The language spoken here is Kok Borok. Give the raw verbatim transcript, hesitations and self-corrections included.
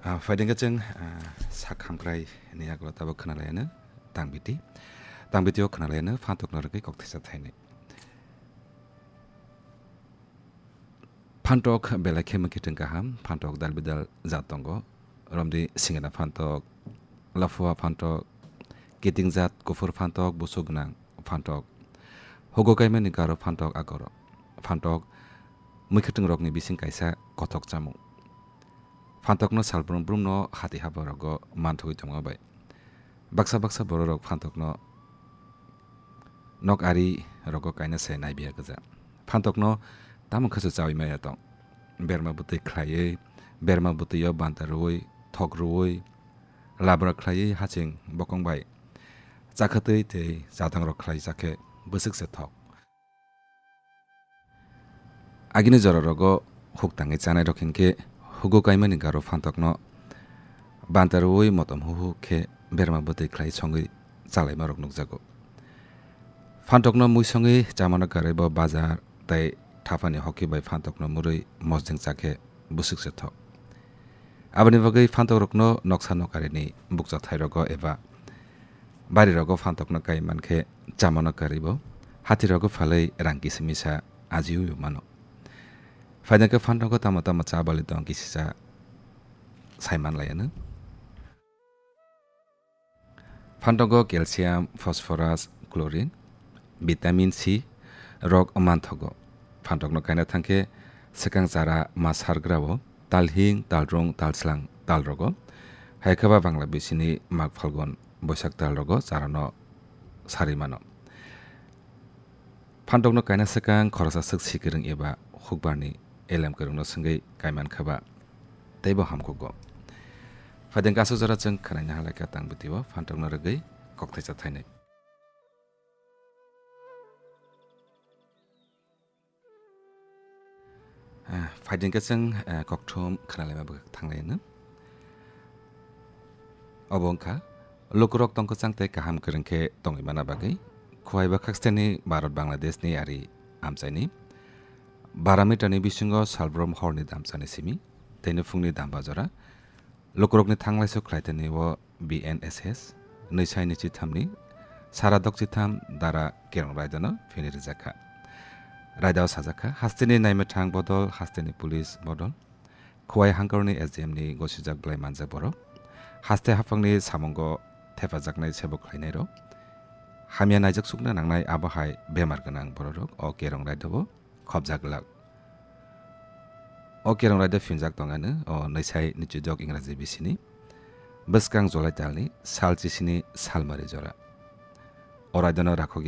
Ah, phaidengkhe chwng, ah, sak hamkrai ni yagulo tabuk khwnalaiyano tangbiti. Tangbiti o khwnalaiyano phantok no rwgwi kok thaisa thainwi. Phantok belai khe mwkhitwng kaham, phantok dal bidal jat tongo. Romdi singena phantok, laphua phantok, kiting jat, kuphur phantok, busuk gwnang phantok, hugo kaimani garo phantok agoro. Phantok mwkhitwng rokni bising kaisa kothok chamung. Phantokno salbrum brumno hati haba rogo manthogwi tongma bai. Baksa baksa bororok phantokno nok ari rogo kaina se naibiya gwja. Phantokno tamo khasu chawi maya tong. Berma bwtwi khlaiwi, berma bwtwio banta rwui, thok rwui, labra khlaiwi haching bokong bai chakhatwi tei chatangrok khlai chakhe bwswk se thok. Agini jora rogo huk tangwi chanai rok hinkhe hugo kaimani garo phantokno banta rwui motom huhu khe berma bwtwi khlai songwi chalaima rok nukjago. Phantokno mui songwi chamano karwi bo bazar tei thapani hoki bai phantokno murwi mosdeng chakhe bwswk se thok. Aboni bagwi phantokrokno noksa nokarini bukcha thairogo eba barirogo phantokno kai mankhe chamano karwi bo hatirogo phalwi rang kisa misa ajiui mano. Phaidengkhe phantogo tamo tamo cha bali tong kisisa saiman laiano. Phantogo calcium, phosphorus, chlorine, vitamin C rok manthogo. Phantokno kaina thangkhe swkang chara ma sargrao talhing, talrung, talslang, talrogo. Hai khe ba Bangla bisini Mag, Phalgun, Boisak talrogo charano sarwi mano. Phantok no kaina swkang khoroksa swk si kwrwng eba hukbar ni elem kwrwng no swngwi kaiman kha ba teibo hamkuk go. Phaideng kasu jora chwng khwnaina halai kha tang bwtwi o phantok no rwgwi kok thaisa thainai. Ah, phaideng khe chwng, eh, kokthum khwnalaima bwkha thanglai no. Obo wngkha, lukurok tongkwchang tei kaham kwrwng khe tongwi mana bagwi, Khowai bwkhaksteni Bharat Bangladeshni ari amchaini bara meterni bisingo salbrum horni damchani simi, tei nuphungni damba jora, lukurokni thanglaisu khlaitani o B N S S, nwi sai ni chithamni, sara dok chitham dara Kerong Raidano phini rijak kha. Raidao sajak kha, hasteni naimwthang bodol, hasteni police bodol, Khowai hangkarni S D M ni gosijak belai manjak borok. Haste haphangni samungo thepajaknai sebo khlainairok. Hamya naijak sukna nangnai abo hai bemar gwnang bororok o Kerong Raidao khobjak glak. O Kerong Raida phinjak tongano o nwi sai ni chidok Ingraji bisini bwskang July talni sal chisini salmari jora. O raidano rakhok